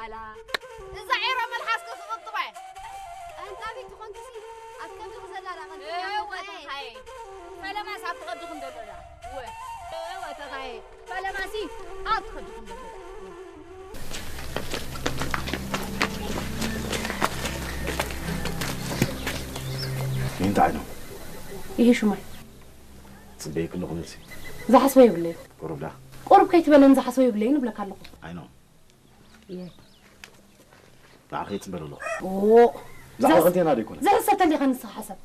ኣላ፣ እዛ ዒሮ መልሓስኪ ክቕጥባ እየ። ቀንጣቢት ትኾንኪሲ ኣብ ከብድኺ ዘላ ዳ ቀንጢባ እወ፣ እየ። ተኻየ። ፈለማስ ኣብ ትኸዲ ክንደሎ ዳ። እወ። እወ፣ ተኻየ። ፈለማሲ ኣብ ትኸዲ ክንደሎ ዳ። እንታይ ነው? ይሄ ሹማይ። ጽበይ ክለኹ መልሲ። ዝሓስቦ የብለይ። ቁሩብ ዳ። ቁሩብ ከይትበለኒ ዝሓስቦ የብለይን እብለካ ኣለኹ። ኣይ ነው። እየ። ንዓኺ ይጽበ ኣለኹ። ኦ፣ ብዛዕባ ዘስ-፣ ክልቴና ዶ ይኮነ? ዘሕሰብ ተሊኻ ንስኻ ሓሳብ።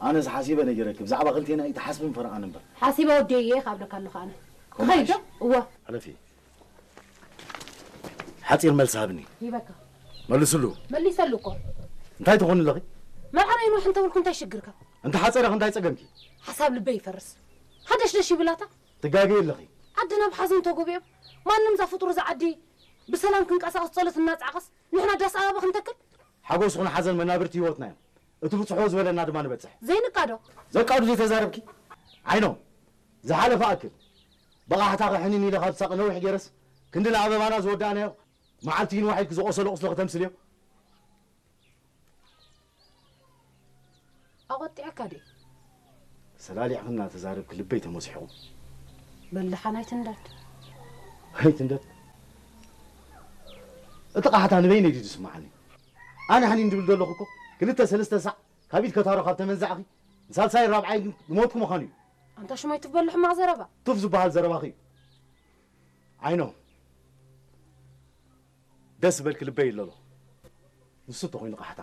ኣነስ ሓሲበ ነጊረኪ፣ ብዛዕባ ክልቴና እዩ ትሓስብን ፈርቓን እምበር። ሓሲበ ወደየ እየ ካብለካ ኣለኹ ኣነ። ከምኡ ክኸይድ ዶ? ሓይሽ። እወ። ሕለፊ። ሓጺር መልሲ ሃብኒ። ሂበካ። መልስሉ። መሊሰሉ እኮ። እንታይ ትኾኒ ኣለኺ? መርዓ ናይ ኖሕ እንተበልኩ እንታይ ሽግርካ? እንተ ሓጸረ እንታይ ጸገምኪ? ሓሳብ ልበይ ይፈርስ። ሃደሽደሽ ይብላታ። ትጋገይ ኣለኺ። ዓዲ ናብ ሓዘን ተጎቢኦም። ማንም እዛ ፍጡር እዛ ዓዲ ብሰላም ክንቀሳቐስ ጸሎት እናጻዕቐስ ንሕና ዳስ ኣበባ ክንተክል? ሓጎስ ይኹን ሓዘን መናብርቲ ህይወትና እዮም። እቲ ብጽሑ ዝበለና ድማ ንበጽሕ። ዘይንቃዶ? ዘቃዱ ዘይተዛረብኪ? ዓይኖም፣ ዝሓለፈ ኣክል። ብቓሕታኺ ሕኒን ኢለ ካብ ሳቕ ነዊሕ ገይረስ፣ ክንዲ ንኣበባና ዝወዳእናዮ፣ መዓልቲ ይንዋሕ ኢልኪ ዝቖሰሎ ቁስሊ ክተምስልዮ? ኣቖጢዐካ ድየ? ሰላሊዕኺ እናተዛረብኪ ልበይ ተመሲሕኹ። በል ደሓን ኣይትንደድ። ኣይትንደድ? እቲ ቃሕታ ንበይነይ ድዩ ዝስምዓኒ? ኣነ ሕኒን ድብል ዘለኹ እኮ ክልተ ሰለስተ ሳዕ ካብ ኢድ ከታሮ ካብ ተመንዛዕኺ ንሳልሳይን ራብዓይን ዝሞትኩ ምዃኑ እዩ። ኣንታ ሽማይ ቱፍ በሎ ሕማቕ ዘረባ። ቱፍ ዝበሃል ዘረባኺ እዩ። ዓይኖም፣ ደስ ዝበልኪ ልበይ ይለሎ። ንሱ እንተኾይኑ ቃሕታ